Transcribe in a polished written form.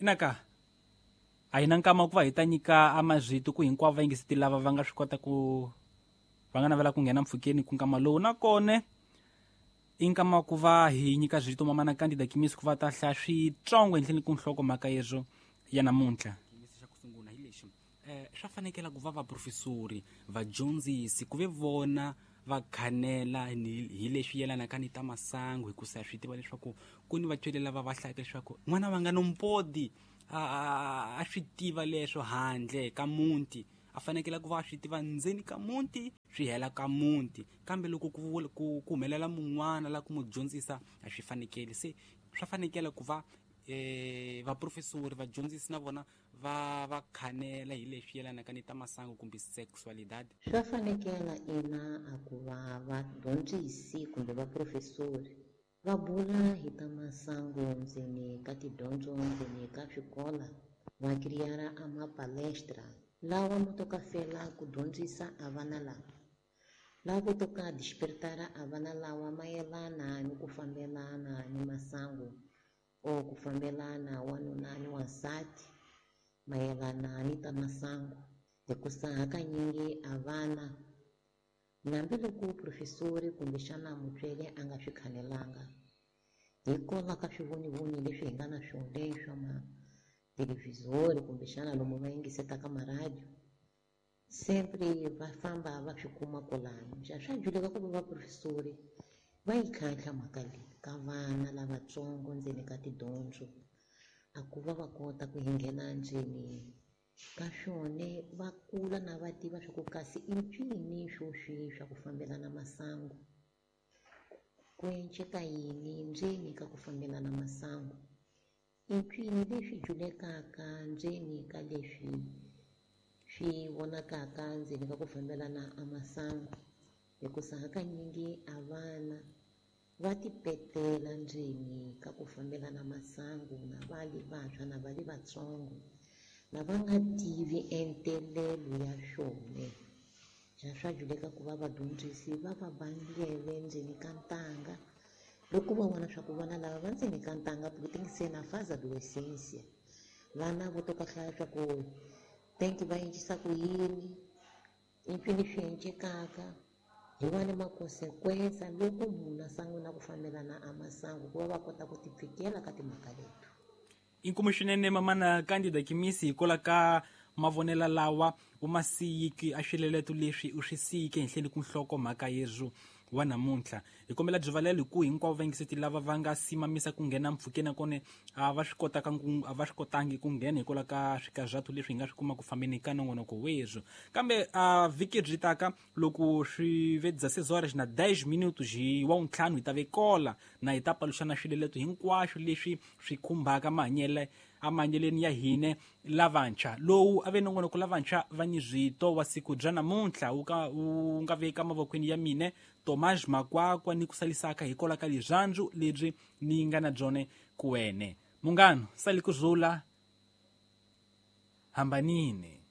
Inaka a hi na nkama ku va hi ta nyika amazwito ku hinkwavo va yingiseti lava va nga swi kota ku va nga navela ku nghena mpfhukeni ku nkama lowu nakona i nkama ku va hi nyika zwito mamana Candida Kimisi ku va ta hlaya switsongo henhleni ku nhlokomhaka yezwo ya namuntlha. Xa ku sungula hi lexi swa fanekela ku va vaprofesori vadyondzisi ku ve vona va khanela hi leswi yelanaka ni ta masangu, hikusa swi tiva leswaku ku ni vatswari lava va hlayaka leswaku n'wana va nga nompodi a swi tiva leswo handle ka muti, a fanekele ku va a swi tiva ndzeni ka muti swi hela ka muti, kambe loko ku humelela mun'wana la ku mu dyondzisa a swi fanekeli. Se swa fanekela ku va vaprofesori vadyondzisi na vona va khanela hi leswi yelanaka ni ta masangu kumbe sexualidad. Swa fanekela ina a ku va vadyondzisi kumbe vaprofesori va bula hi ta masangu ndzeni ka tidyondzo ndzeni ka swikola, va kiriyara a mapalestra lawa mo toka fela ku dyondzisa a vana lava, lava toka despertara a vana lawa mayelana ni ku fambelana ni masangu o ku fambelana wanuna ni wansati mayelana ni ta masangu, hikusa hakanyingi a vana hambiloko profesori kumbexana mutsweri a nga swi khanelanga hikwalaho ka swivonivoni leswi hi nga na swona swa mathelevhizori kumbexana lomu va yingisetaka maradiyo, sempre va famba va swi kuma kwalano. Xa swa juleka ku va vaprofesori va yi tlhantlha mhaka leyi ka vana lavatsongo ndzeni ka tidyondzo, a ku va va kota ku nghena ndzeni ka swona va kula na va tiva swa ku kasi i ncini swo swi swa ku fambelana masangu, ku enceka yini ndzeni ka ku fambelana masangu, i ncini leswi julekaka ndzeni ka leswi swi vonakaka ndzeni ka ku fambelana a masangu, hikusa hakanyingi a vana va tipetela ndzeni ka ku fambelana masangu na va le vantshwa na va le vatsongo na va nga tivi entelelo ya swona. Xa swa juleka ku va vadyondzisi va va bandlele ndzeni ka ntanga loko va vona swa ku vana lava va ndzeni ka ntanga porque tem que ser na fase adolescência, vana vo toka hlaya swa ku tem que va endlisa ku yini, i mpfini swi encekaka hi wani makonsequensa loko munhu a sungula ku fambelana a masangu ku va va kota ku tipfikela ka timhaka leti. Inkomu swinene mamana Candida Kimisi hikwalaho ka mavonelo lawa u ma siyiki a swileleto leswi u swi siyike henhleni ku nhlokomhaka yezwo wa namuntlha. Hi kombela byivalelo hi ku hinkwavo vayingiseti lava va nga simamisa ku nghena mpfhukeni nakona a va swi kotaka a va swi kotangi ku nghena hikwalaho ka swikazatu leswi hi nga swi kuma ku fambeni ka nongonoko wezwo. Kambe a vhiki byi taka loko swi ve 16 horas na 10 minutos hi wa ntlhanu hi ta ve kola na hi ta paluxana swileleto hinkwaswo leswi swi khumbaka mahanyele amahanyeleni ya hine lavantshwa. Lowu a ve nongonoko lavantshwa va ni zwito wa siku bya namuntlha wu ka wu nga veka mavokweni ya mine Tomás Makwakwa ni ku salisaka hikwalaho ka lirhandzu lebyi ni nga na byona ku wene. Munghano sali ku zula hambanini.